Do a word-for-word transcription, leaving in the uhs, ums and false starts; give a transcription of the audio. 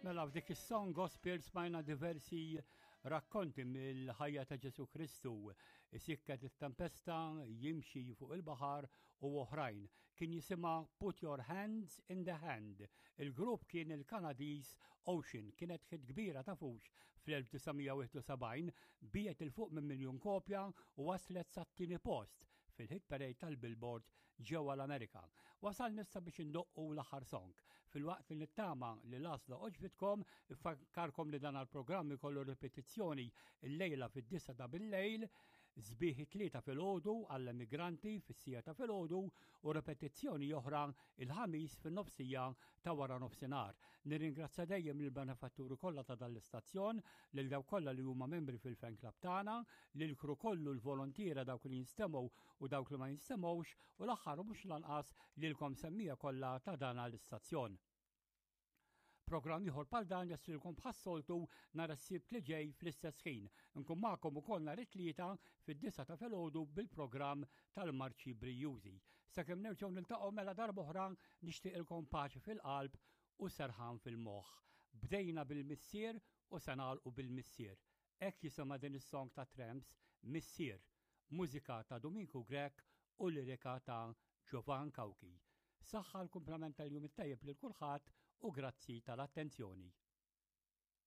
Mela f'dik is-song gospel smajna diversi rakkonti mill-ħajja ta' Ġesu Kristu, isikket it-tempesta, jimxi fuq il-baħar u oħrajn. Kien jisimha Put Your Hands in the Hand. Il-grupp kien il-Kanadiż Ocean, kienet hit kbira ta' fux fl-elf disa' mija wieħed u sebgħin, biegħet 'il fuq minn miljun kopja u waslet sat-tieni post fil-hit parade tal-Billboard ġewwa l-Amerika. Wasal nista biex indoqqu l-aħħar song. Filwaqt li nittama li l-għażla għoġbitkom, infakkarkom li dan il-programm ikollu ripetizzjoni il-lejla fid-disgħa ta' bil-lejl, sbieħ it-Tlieta filgħodu għall-emigranti fis-siegħa ta' filgħodu u ripetizzjoni oħra il-Ħamis fin-nofsija ta' wara nofsinhar. Nirringrazzja dejjem il-benefatturi kollha ta' dan l-istazzjon, lil dawk kollha li huma membri fil-fan club tagħna, lil crew kollu, l-volontiera, dawk li jinstemgħu u dawk li ma jinstemgħux, u l-aħħar u mhux lanqas lilkom semmiegħa kollha ta' dan l-istazzjon. Programm ieħor bħal dan jaslilkom bħas-soltu nhar is-Sibt li ġej fl-istess ħin. Nkun magħkom ukoll nhar it-Tlieta fid-disgħa ta' filgħodu bil-programm tal-Marċi Brijużi. Sakemm nerġgħu niltaqgħu mela darb'oħra, nixtieqilkom paċi fil-qalb u serħan fil-moħħ. Bdejna bil-Missier u se nagħlqu bil-Missier. Hekk jisimha din is-song ta' Tramps, Missier, mużika ta' Dominku Grech u lirika ta' Giovan Cauchi. Saħħa, l-kumplament tal-jum it-tajjeb lil kulħadd u grazzi tal-attenzjoni.